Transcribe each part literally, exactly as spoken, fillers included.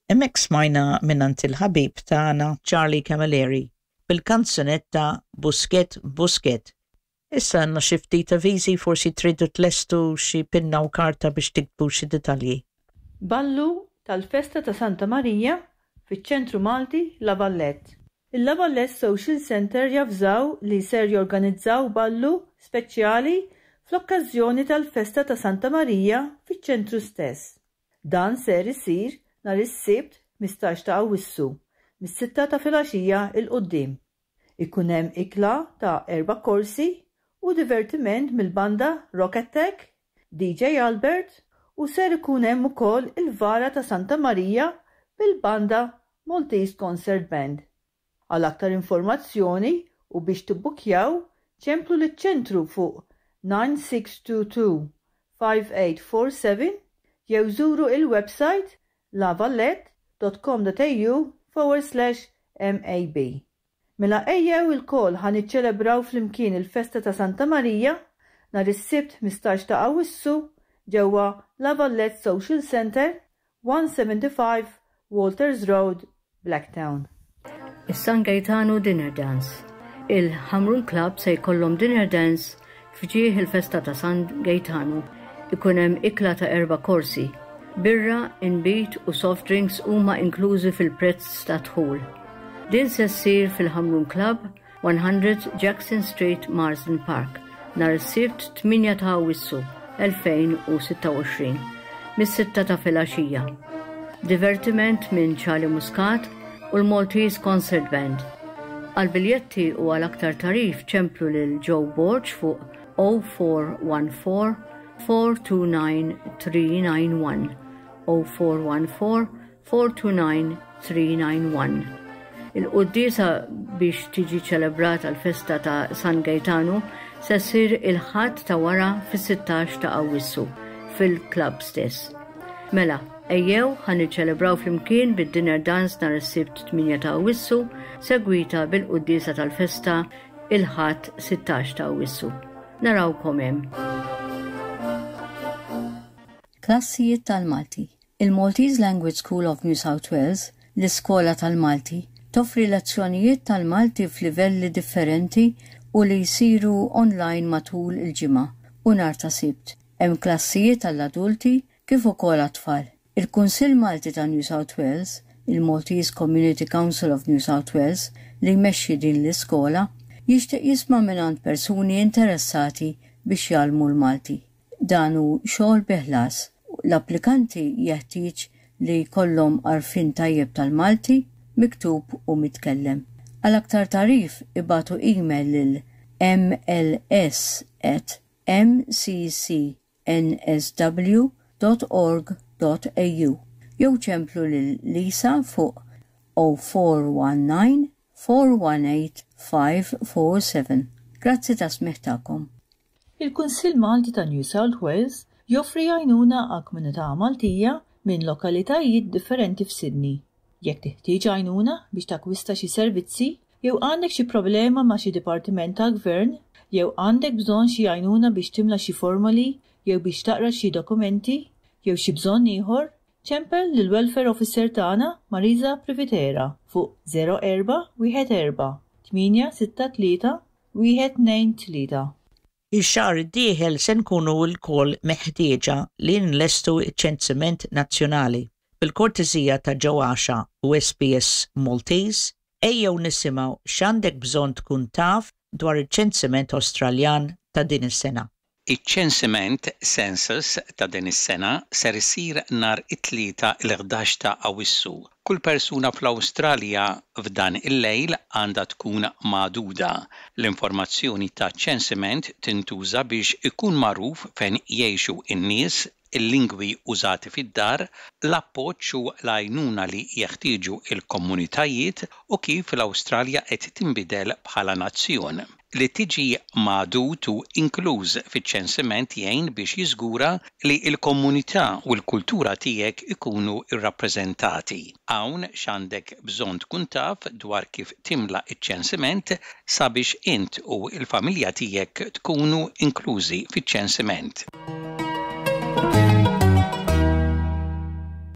Hemmhekk smajna mingħand il-ħabib tagħna Charlie Camilleri bil-kanzunetta Buskett Buskett. Issa għandna xi ftit avviżi, forsi tridu tlestu xi pinna u karta biex tiktbu xi dettalji. Ballu tal-Festa ta' Santa Marija fiċ-Ċentru Malti La Vallette. Il-La Vallette Social Center javżaw li ser jorganizzaw ballu speċjali fl-okkażjoni tal-Festa ta' Santa Marija fiċ-ċentru stess. Dan ser isir nhar is-Sibt ħmistax ta' Awwissu mis-sitta ta' filgħaxija 'l quddiem. Ikun hemm ikla ta' erba' korsi u divertiment mill-banda Rock Attack, D J Albert, u ser ikun hemm ukoll il-vara ta' Santa Marija bil-banda Maltese Concert Band. Għal aktar informazzjoni u biex tibbukjaw, ċemplu liċ-ċentru fuq nine six two two five eight four seven jew żuru il-website lavallette dot com dot A U forward slash M A B. Mela ejjew ilkoll ħa niċċelebraw flimkien il-festa ta' Santa Marija nhar is-Sibt ħmistax ta' Awwissu ġewwa La Vallette Social Center, one seventy-five Walters Road, Blacktown. Is-San Gaetano Dinner Dance. Il-Ħamrun Club se jkollhom dinner dance f'ġieħ il-festa ta' San Gaetano. Ikun hemm ikla ta' erba' korsi. Birra, inbid u soft drinks huma inklużi fil-prezz ta' dħul. Din se ssir fil-Ħamrun Club, one hundred Jackson Street, Marsden Park, nhar is-Sibt tmienja ta' Awwissu elfejn u sitta u għoxrin mis-sitta ta' filgħaxija. Divertiment minn Charlie Muscat u l-Maltese Concert Band. Għal biljetti u għal aktar tagħrif ċemplu lil Joe Borg fuq zero four one four four two nine three nine one, zero four one four four two nine three nine one. Il-quddiesa biex tiġi ċelebrata l-festa ta' San Gaetano se ssir il-Ħadd ta' wara fis-sittax ta' Awwissu fil-klab stess. Mela, ejjew ħa niċċelebraw flimkien bid-dinner dance nhar is-Sibt tmienja ta' Awwissu, segwita bil-quddiesa tal-festa il-Ħadd sittax ta' Awwissu. Narawkom hemm. Klassijiet tal-Malti. Il-Maltese Language School of New South Wales, l-Iskola tal-Malti, toffri lezzjonijiet tal-Malti f'livelli differenti u li jsiru online matul il-ġimgħa u nhar ta' Sibt. Hemm klassijiet għall-adulti kif ukoll għat-tfal. Il-Kunsill Malti ta' New South Wales, il-Maltese Community Council of New South Wales, li jmexxi din l-iskola, jixtieq jisma' mingħand persuni interessati biex jgħallmu l-Malti. Dan hu xogħol bi ħlas. L-applikanti jeħtieġ li jkollhom għarfien tajjeb tal-Malti, miktub u mitkellem. Għal aktar tagħrif ibagħtu email lil M L S at M C C N S W dot org dot A U jew ċemplu lil Lisa fuq zero four one nine four one eight five four seven. Grazzi tas-smigħ tagħkom. Il-Kunsill Malti ta' New South Wales joffri għajnuna għal komunità Maltija minn lokalitajiet differenti f'Sydney. Jekk teħtieġ għajnuna biex takwista xi servizzi, jew għandek xi problema ma' xi dipartiment tal-gvern, jew għandek bżonn xi għajnuna biex timla xi formoli, jew biex taqra xi dokumenti, jew xi bżonn ieħor, ċempel lil Welfare Officer tagħna Marisa Privitera fuq zero erba' wieħed erba' tmienja sitta tlieta wieħed tnejn tlieta. Ix-xahar id-dieħel se nkunu lkoll meħtieġa li nlestu ċ-ċensiment nazzjonali. Bil-kortesija ta' Ġewwaxa u S B S Maltese, ejjew nisimgħu x'għandek bżonn tkun taf dwar iċ-ċensiment Awstraljan ta' din is-sena. Iċ-ċensiment, census, ta' din is-sena ser isir nhar it-Tlieta l-ħdax ta' Awwissu. Kull persuna fl-Awstralja f'dan il-lejl għandha tkun magħduda. L-informazzjoni ta' ċensiment tintuża biex ikun magħruf fejn jgħixu n-nies, il-lingwi użati fid-dar, l-appoġġ u l-għajnuna li jeħtieġu il-komunitajiet u kif l-Awstralja qed tinbidel bħala nazzjon. Li tiġi magħdud u inkluż fiċ-ċensiment jgħin biex jiżgura li l-komunità u l-kultura tiegħek ikunu rrappreżentati. Hawn x'għandek bżonn tkun taf dwar kif timla iċ-ċensiment sabiex int u l-familja tiegħek tkunu inklużi fiċ-ċensiment.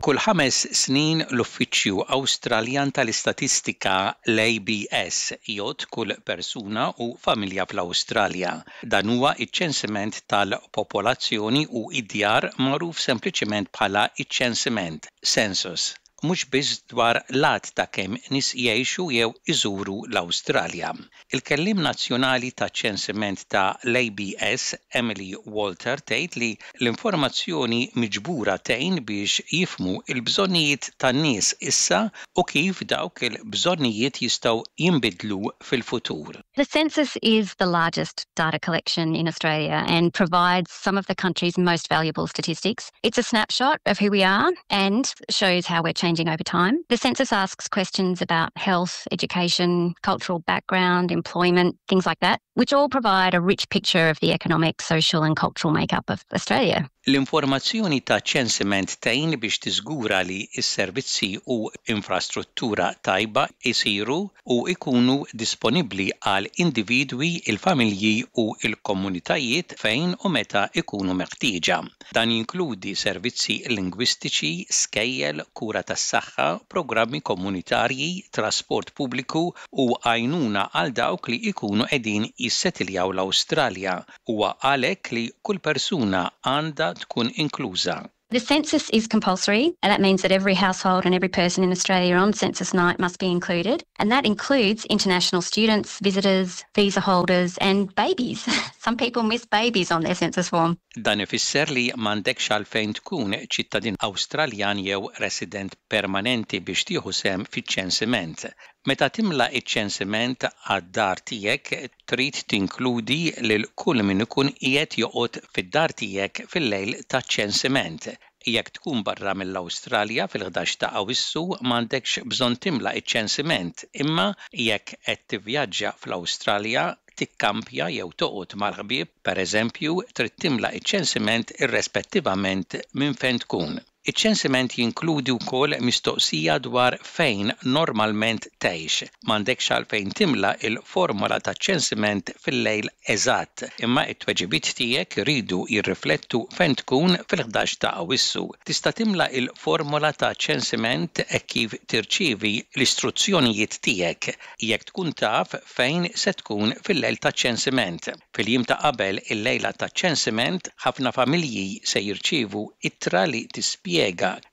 Kull ħames snin l-Uffiċċju Awstraljan tal-Istatistika, l-A B S, jgħodd kull persuna u familja fl-Awstralja. Dan huwa iċ-ċensiment tal-popolazzjoni u id-djar, magħruf sempliċement bħala iċ-ċensiment, census, mhux biss dwar l-għadd ta' kemm nies jgħixu jew iżuru l-Awstralja. Il-kellim nazzjonali ta' ċensiment ta' l-A B S, Emily Walter, tgħid li l-informazzjoni miġbura tgħin biex jifhmu il-bżonnijiet tan-nies issa u kif dawk il-bżonnijiet jistgħu jinbidlu fil-futur. The census is the largest data collection in Australia and provides some of the country's most valuable statistics. It's a snapshot of who we are and shows how we're changing over time. The census asks questions about health, education, cultural background, employment, things like that, which all provide a rich picture of the economic, social and cultural makeup of Australia. L-informazzjoni ta' ċensiment tgħin biex tiżgura li s-servizzi u infrastruttura tajba isiru u ikunu disponibbli għal individwi, il-familji u il-komunitajiet fejn u meta ikunu meħtieġa. Dan jinkludi servizzi lingwistiċi, skejjel, kura tas-saħħa, programmi komunitarji, trasport pubbliku u għajnuna għal dawk li ikunu qegħdin jissetiljaw l-Awstralja. Huwa għalhekk li kull persuna għandha tkun inkluża. The census is compulsory, and that means that every household and every person in Australia on census night must be included. And that includes international students, visitors, visa holders, and babies. Some people miss babies on their census form. Dan ifisser li m'għandekx għalfejn tkun ċittadin Awstraljan jew resident permanenti biex tieħu sehem fiċ-ċensiment. Meta timla iċ-ċensiment għad-dar tiegħek, trid tinkludi lil kull min ikun qiegħed joqgħod fid-dar tiegħek fil-lejl taċ-ċensiment. Jekk tkun barra mill-Awstralja fil-ħdax ta' Awissu, m'għandekx bżonn timla iċ-ċensiment, imma jekk qed tivvjaġġa fl-Awstralja, tikkampja jew toqgħod mal-ħbieb, pereżempju, trid timla iċ-ċensiment irrespettivament minn fejn tkun. Iċ-ċensiment jinkludi wkoll mistoqsija dwar fejn normalment tgħix. M'għandekx għalfejn timla il-formola ta' ċensiment fil-lejl eżatt, imma it-tweġibiet tiegħek iridu jirriflettu fejn tkun fil-ħdax ta' Awissu. Tista' timla il-formola ta' ċensiment hekk kif tirċievi l-istruzzjonijiet tiegħek jekk tkun taf fejn se tkun fil-lejl ta' ċensiment. Fil-jiem ta' qabel il-lejla ta' ċensiment, ħafna familji se jirċievu ittra li tispjega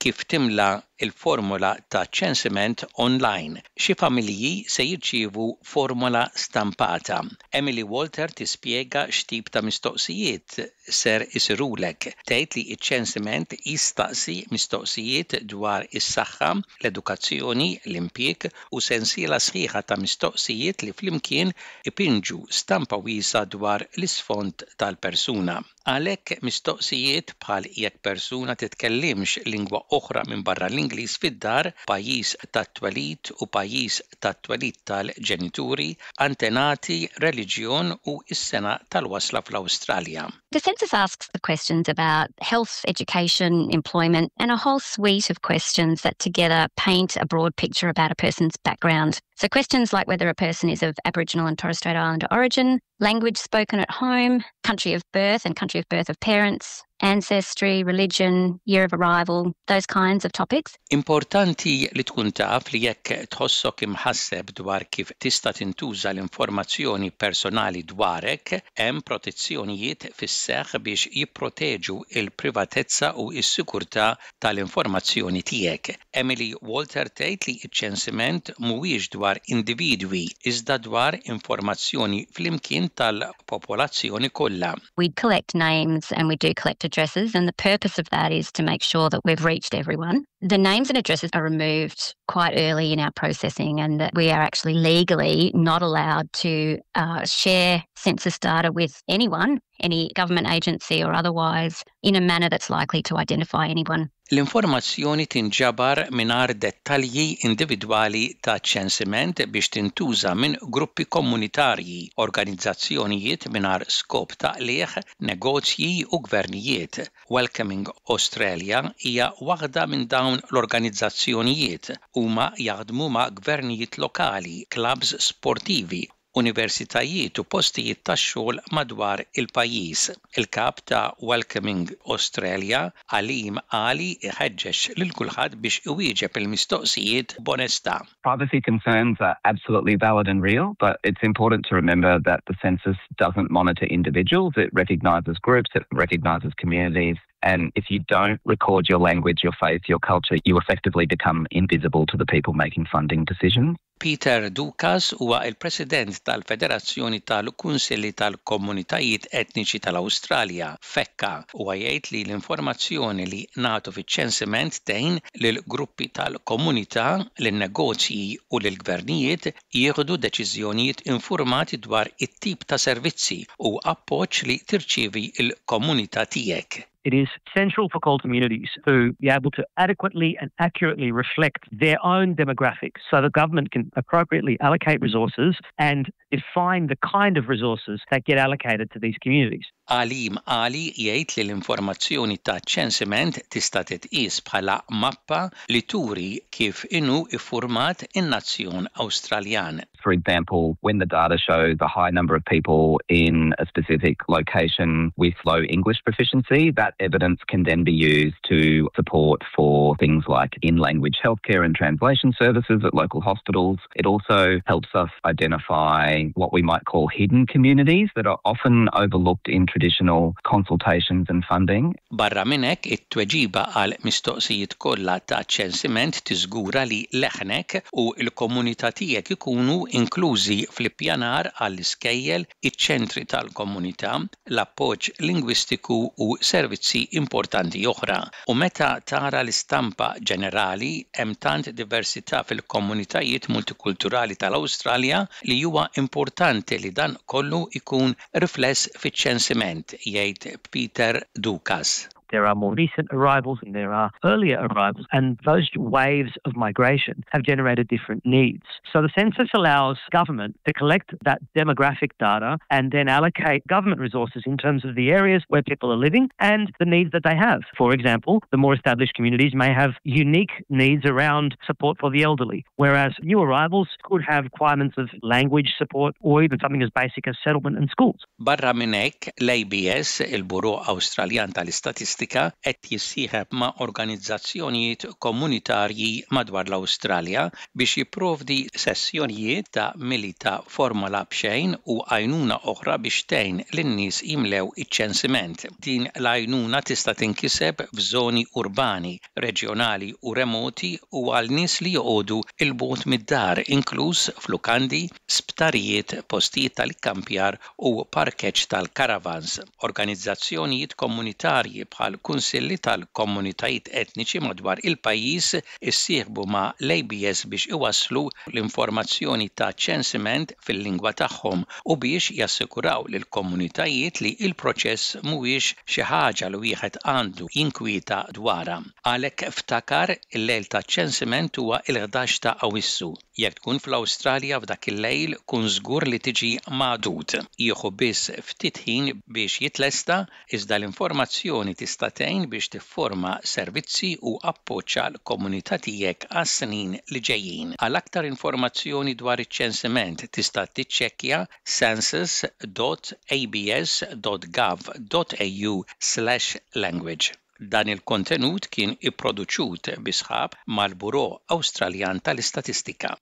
kif timla il-formola ta' ċensiment online. Xi familji se jirċievu formola stampata. Emily Walter tispjega x'tip ta' mistoqsijiet ser isirulek. Tgħid li ċ-ċensiment jistaqsi mistoqsijiet dwar is-saħħa, l-edukazzjoni, l-impjieg u sensiela sħiħa ta' mistoqsijiet li flimkien ipinġu stampa wiesgħa dwar l-isfond tal-persuna. Għalhekk, mistoqsijiet bħal jekk persuna titkellimx lingwa oħra minn barra l-Ingliż fid-dar, pajjiż tat-twelid u pajjiż tat-twelid tal-ġenituri, antenati, reliġjon u s-sena tal-wasla fl-Awstralja. The census asks the questions about health, education, employment, and a whole suite of questions that together paint a broad picture about a person's background. So questions like whether a person is of Aboriginal and Torres Strait Islander origin, language spoken at home, country of birth and country of birth of parents, ancestry, religion, year of arrival, those kinds of topics. Importanti li tkun taf li jekk tħossok imħasseb dwar kif tista' tintuża l-informazzjoni personali dwarek, hemm protezzjonijiet fis-seħħ biex jipproteġu il-privatezza u s-sikurtà tal-informazzjoni tiegħek. Emily Walter tgħid li ċ-ċensiment mhuwiex dwar individwi iżda dwar informazzjoni flimkien tal-popolazzjoni kollha. We collect names and we do collect addresses, and the purpose of that is to make sure that we've reached everyone. The names and addresses are removed quite early in our processing, and that we are actually legally not allowed to uh, share census data with anyone, any government agency or otherwise, in a manner that's likely to identify anyone. L-informazzjoni tinġabar mingħajr dettalji individwali ta' ċensiment biex tintuża minn gruppi komunitarji, organizzazzjonijiet mingħajr skop ta' qligħ, negozji u gvernijiet. Welcoming Australia hija waħda minn dawn l-organizzazzjonijiet. Huma jaħdmu ma' gvernijiet lokali, clubs sportivi. Universitajiet u postijiet tax-xogħol madwar il-pajjiż. Il-kap ta' Welcoming Australia, Alim Ali, iħeġġeġ lil kulħadd biex iwieġeb il-mistoqsijiet b'onestà. Privacy concerns are absolutely valid and real, but it's important to remember that the census doesn't monitor individuals. It recognises groups, it recognises communities. And if you don't record your language, your faith, your culture, you effectively become invisible to the people making funding decisions. Peter Dukas huwa il-President tal-Federazzjoni tal-Kunsilli tal-Komunitajiet Etniċi tal-Awstralja, FECCA, u jgħid li l-informazzjoni li nagħtu fiċ-ċensiment tgħin lil gruppi tal-komunità, lin-negozji u lill-gvernijiet jieħdu deċiżjonijiet informati dwar it-tip ta' servizzi u appoġġ li tirċievi il-komunità tiegħek. It is central for CALD communities to be able to adequately and accurately reflect their own demographics so the government can appropriately allocate resources and define the kind of resources that get allocated to these communities. Alim Ali jgħid li l-informazzjoni ta' ċensiment tista' titqies bħala mappa li turi kif inhu iffurmat in-nazzjon Awstraljan. For example, when the data shows a high number of people in a specific location with low English proficiency, that evidence can then be used to support for things like in-language healthcare and translation services at local hospitals. It also helps us identify what we might call hidden communities that are often overlooked in traditional consultations and funding. Barra minn hekk, it-tweġiba għal mistoqsijiet kollha ta' ċensiment tiżgura li leħnek u l-komunità tiegħek ikunu inklużi fl-ippjanar għall-iskejjel, iċ-ċentri tal-komunità, l-appoġġ lingwistiku u servizzi importanti oħra. U meta tara l-istampa ġenerali, hemm tant diversità fil-komunitajiet multikulturali tal-Awstralja li huwa importanti li dan kollu ikun rifless fiċ-ċensiment, jgħid Peter Dukas. There are more recent arrivals and there are earlier arrivals, and those waves of migration have generated different needs. So the census allows government to collect that demographic data and then allocate government resources in terms of the areas where people are living and the needs that they have. For example, the more established communities may have unique needs around support for the elderly, whereas new arrivals could have requirements of language support or even something as basic as settlement and schools. Barra minn hekk, l-A B S, il-Bureau Awstraljan tal-Istatistika, qed jissieħeb ma' organizzazzjonijiet komunitarji madwar l-Awstralja biex jipprovdi sessjonijiet ta' mili ta' formola b'xejn u għajnuna oħra biex tgħin lin-nies jimlew iċ-ċensiment. Din l-għajnuna tista' tinkiseb f'żoni urbani, reġjonali u remoti u għal nies li joqogħdu 'il bogħod mid-dar, inkluż f'lukandi, sptarijiet, postijiet tal-ikkampjar u parkeġġ tal-caravans. Organizzazzjonijiet komunitarji bħal kunsilli tal-komunitajiet etniċi madwar il-pajjiż issieħbu ma' l-A B S biex iwasslu l-informazzjoni ta' ċensiment fil-lingwa tagħhom u biex jassikuraw lill-komunitajiet li il-proċess mhuwiex xi ħaġa li wieħed għandu jinkwieta dwarha. Għalhekk ftakar, il-lejl ta' ċensiment huwa il-ħdax ta' Awissu. Jekk tkun fl-Awstralja f'dak il-lejl, kun żgur li tiġi magħdud. Jieħu biss ftit ħin biex jitlesta, iżda l-informazzjoni tista' tgħin biex tifforma servizzi u appoġġ għall-komunità tiegħek għas-snin li ġejjin. Għal aktar informazzjoni dwar iċ-ċensiment tista' tiċċekkja census dot A B S dot gov dot A U slash language. Dan il-kontenut kien ipproduċut bi sħab mal-Bureau Awstraljan tal-Istatistika.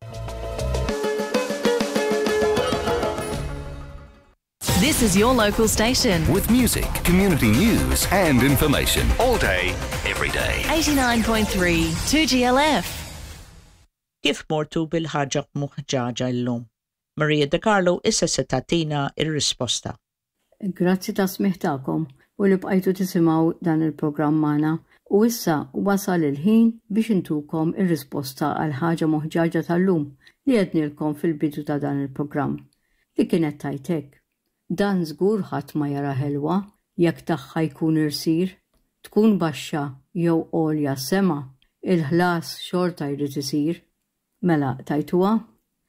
This is your local station. With music, community news, and information. All day, every day. eighty-nine point three two G L F. Kif mortu bil-ħaġa moħġaġa llum? Maria De Carlo issa se tagħtina ir-risposta. Grazzi tas-smigħ tagħkom u li bqajtu tisimgħu dan il-programm magħna. U issa wasal il-ħin biex intukom ir-risposta għal ħaġa moħġaġa tal-lum li għednilkom fil-bidu ta' dan il-programm li kienet tajtek. Dan żgur ħadd ma jara ħelwa jekk tagħha jkun irsir, tkun baxxa jew għolja sema, il-ħlas xorta jrid isir. Mela tajtuha?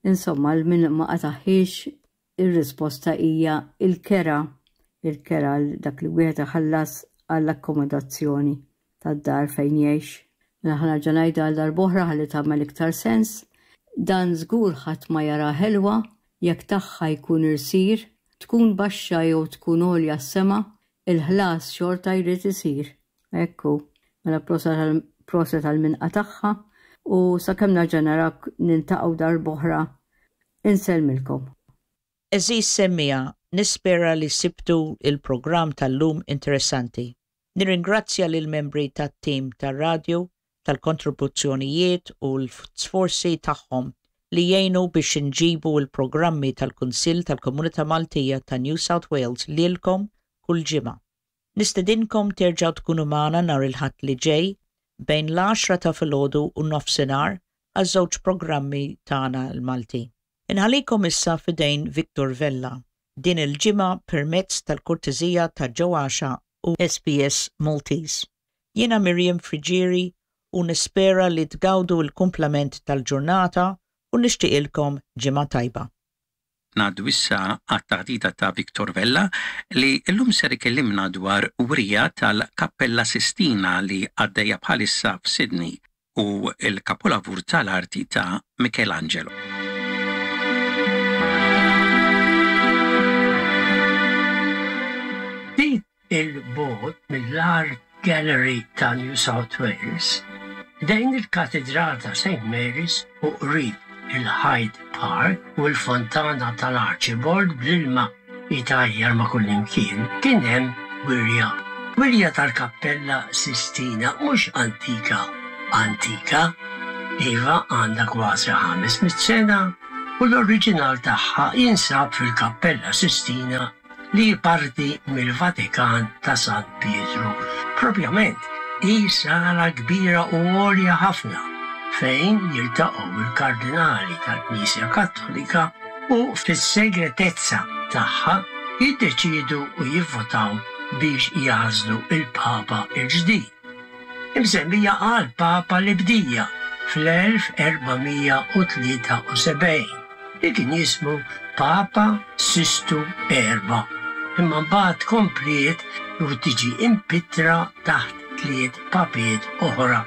Insomma, min ma qataħħiex, ir-risposta hija il-kera, il-kera, dak li wieħed iħallas għall-akkomodazzjoni tad-dar fejn jgħix. Mela ħa nerġa' ngħidha għal darb'oħra ħalli tagħmel iktar sens. Dan żgur ħadd ma jara ħelwa. Jekk tagħha jkun irsir, tkun baxxa jew tkun għolja s-sema, il-ħlas xorta jrid isir. Ekku, mela proset għal-minqa tagħha u sakemm nerġa' narak niltaqgħu darb'oħra. Insellmilkom. Għeżież semmiegħa, nispera li sibtu il-programm tal-lum interessanti. Nirringrazzja lil membri tat-tim tar-radio tal-kontribuzzjonijiet u l-sforzi tagħhom li jgħinu biex nġibu il-programmi tal-Kunsill tal-Komunità Maltija ta' New South Wales lilkom kull ġimgħa. Nistedinkom terġgħu tkunu magħna nhar il-Ħadd li ġej bejn l-għaxra ta' filgħodu u nofsinhar għaż-żewġ programmi tagħna l-Malti. Inħallikom issa f'idejn Victor Vella din il-ġimgħa permezz tal-kortezija ta' Joe Axiaq u S B S Maltese. Jiena Miriam Frigieri u nispera li tgawdu l-kumplament tal-ġurnata u nixtieqilkom ġimgħa tajba. Ngħaddu issa għat-taħdita ta' Victor Vella li llum ser ikellimna dwar wirja tal-Kappella Sistina li għaddejja bħalissa f'Sydney u il-kapolavur tal-arti ta' Michelangelo. Ftit 'il bogħod mill-Art Gallery ta' New South Wales, ħdejn il-Katedral ta' Saint Mary's u qrib il-Hyde Park u l-fontana tal-Archibald bl-ilma jitajjar ma' kullimkien, kien hemm wirja. Wirja tal-Kappella Sistina mhux antika, antika, iva, għandha kważi ħames mitt sena u l-oriġinal tagħha jinsab fil-Kappella Sistina li parti mill-Vatikan ta' San Pietru. Propjament, hi sala kbira u għolja ħafna fejn jiltaqgħu il-kardinali tal-Knisja Kattolika u fis-segretezza tagħha jiddeċidu u jivvotaw biex jagħżlu il-Papa il-ġdid. Imsemmija għal Papa li bdieha fl-elf erba' mija u tlieta u sebgħin li kien jismu Papa Sistu Erba. Imma mbagħad kompliet u tiġi impittra taħt tliet papiet oħra.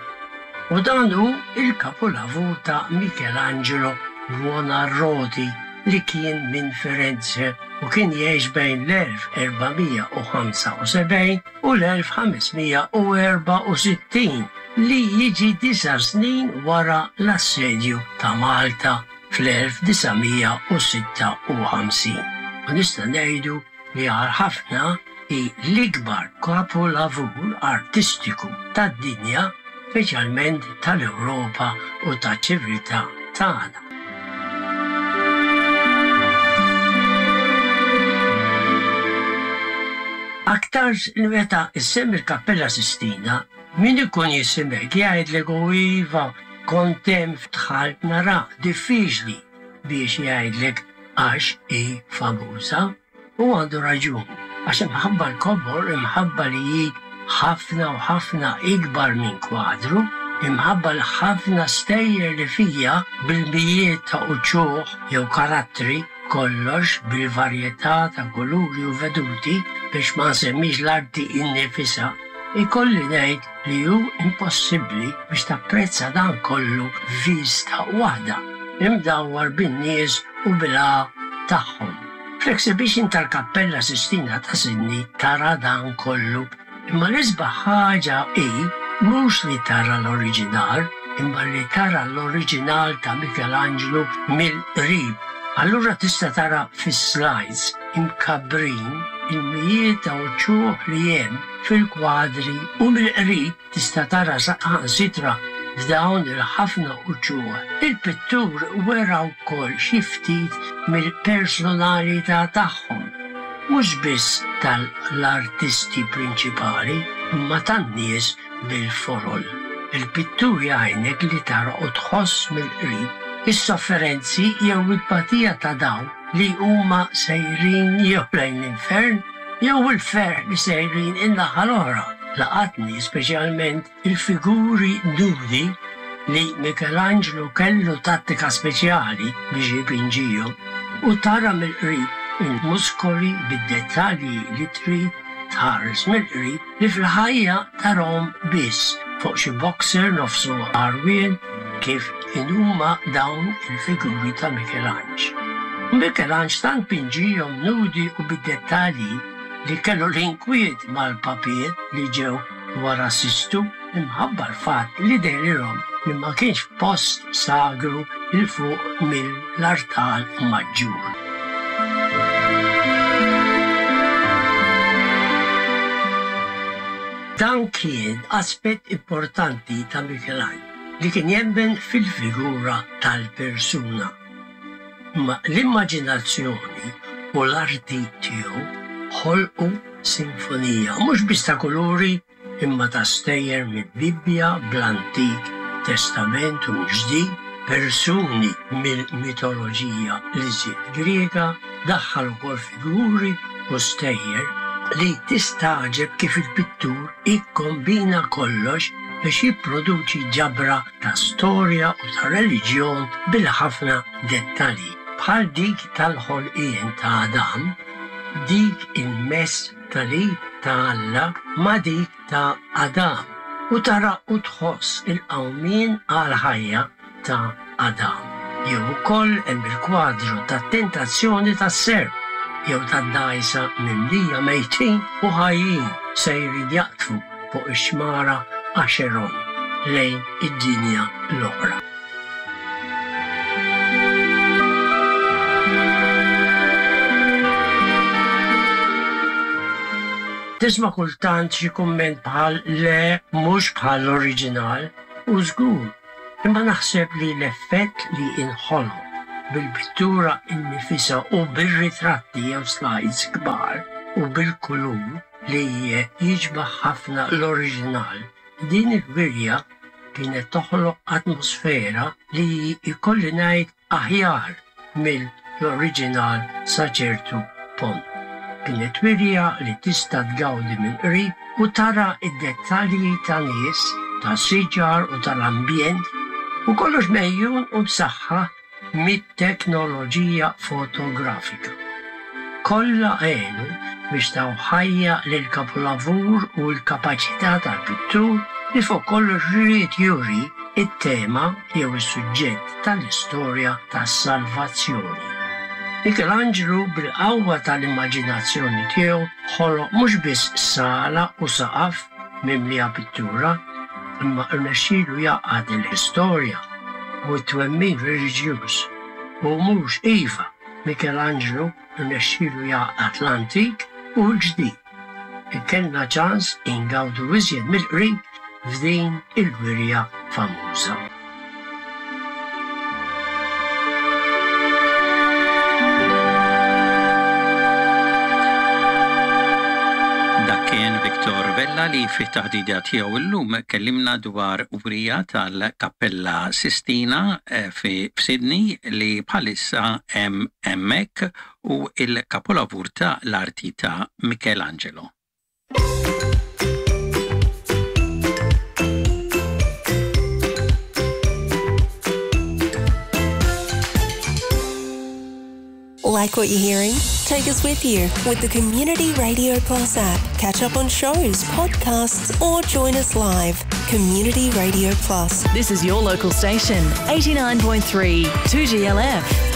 U dan hu il-kapolavur ta' Michelangelo Buonarroti li kien minn Firenze u kien jgħix bejn l-elf erba' mija u ħamsa u sebgħin u l-elf ħames mija u erbgħa u sittin, li jiġi disa' snin wara l-assedju ta' Malta fl-elf disa' mija u sitta u ħamsin. U nista' ngħidu li għal ħafna hi l-ikbar kapolavur artistiku tad-dinja, speċjalment tal-Ewropa u taċ-ċiviltà tagħna. Aktarx li meta issemmi l-Kappella Sistina, min ikun jisimek jgħidlek, "U iva, kont hemm, dħalt nara." Diffiċli biex jgħidlek għax hi famuża. U għandu raġun, għax imħabba l-kobor, imħabba li hi ħafna u ħafna ikbar minn kwadru, imħabba l-ħafna stejjer li fija bil-mijiet ta' uċuħ jew karattri, kollox bil-varjetà ta' kuluri u veduti, biex ma nsemmix l-arti innifisha, ikolli ngħid li hu impossibbli biex tapprezza dan kollu f'vista waħda, imdawwar bin-nies u bil tagħhom. Fl-exhibition tal-Kappella Sistina ta' Sydney tara dan kollu, imma l-isbaħ ħaġa hi mhux li tara l-oriġinal, imma li tara l-oriġinal ta' Michelangelo mill-qrib. Allura tista' tara fis-slides imkabbrin il-mijiet ta' uċuħ li hemm fil-kwadri u mill-qrib tista' tara saħansitra f'dawn il-ħafna uċuħ. Il-pittur wera wkoll xi ftit mill-personalità tagħhom, mhux biss tal-artisti prinċipali, imma tan-nies bil-folol. Il-pittur jgħinek li tara u tħoss mill-qrib is-sofferenzi jew it-tbatija ta' dawn li huma sejrin jew lejn l-infern jew il-ferħ li sejrin in-naħa l-oħra. Laqatni speċjalment il-figuri nudi li Michelangelo kellu tattika speċjali biex jipinġihom u tara mill-qrib il-muskoli bid-dettalji li trid tħares mill-qrib li fil-ħajja tarahom biss fuq xi boxer nofsu għarwien, kif inhuma dawn il-figuri ta' Michelangelo. Michelangelo tant pinġihom nudi u bid-dettalji li kellu l-inkwiet mal-papiet li ġew wara Sistu imħabba l-fatt li dehrilhom li ma kienx post sagru 'l fuq mill-artal maġġur. Dan kien aspett importanti ta' Michelangelo li kien jemmen fil-figura tal-persuna. Ma l-immaġinazzjoni u l-arti tiegħu ħolqu sinfonija mhux biss ta' kuluri imma ta' stejjer mill-Bibbja bl-Antik Testament u mill-Ġdid, persuni mill-mitoloġija l-iżjed Griega, daħħal ukoll figuri u stejjer li tistagħġeb kif il-pittur ikkombina kollox biex jipproduċi ġabra ta' storja u ta' reliġjon bil-ħafna dettalji, bħal dik tal-ħolqien ta' Adam, dik il-mess tal-id ta' Alla ma' dik ta' Adam, u tara u tħoss il-qawmien għal-ħajja ta' Adam. Jew ukoll hemm il-kwadru tat-tentazzjoni tas-serp, jew tad-dgħajsa mimlija mejtin u ħajjin sejrin jaqtfu fuq ix-xmara Acheron lejn id-dinja l-oħra. Tisma' kultant xi kumment bħal le mhux bħal l-oriġinal u żgur, imma naħseb li l-effett li inħoloq bil-pittura innifisha u bir-ritratti jew slides kbar u bil-kulur li jiġbaħ ħafna l-oriġinal. Din il-wirja kienet toħloq atmosfera li jkolli ngħid aħjar mill-oriġinal sa ċertu punt. Kienet wirja li tista' tgawdi mill-qrib u tara id-dettalji ta' nies, ta' siġar u tal-ambjent u kollox mejjun u b'saħħa mit-teknoloġija fotografika. Kollha għenu biex taw ħajja lil kapolavur u l-kapaċità tal-pittur li fuq kollox ried juri it-tema jew is-suġġett tal-istorja tas-salvazzjoni. Michelangelo bil-qawwa tal-immaġinazzjoni tiegħu ħoloq mhux biss sala u saqaf mimlija pittura, imma rnexxielu jgħaqqad l-istorja u t-twemmin reliġjuż. U mhux iva, Michelangelo rnexxielu jgħaqqad l-antik u l-ġdid. Kellna ċans ingawdu iżjed mill-qrib f'din il-wirja famuża. Dak kien Victor Vella li fit-taħdida tiegħu llum kellimna dwar wirja tal-Kappella Sistina eh, fi Sydney li bħalissa hemm hemmhekk u il-kapolavur ta' l-arti ta' Michelangelo. Like what you're hearing? Take us with you with the Community Radio Plus app. Catch up on shows, podcasts, or join us live. Community Radio Plus. This is your local station, eighty-nine point three two G L F.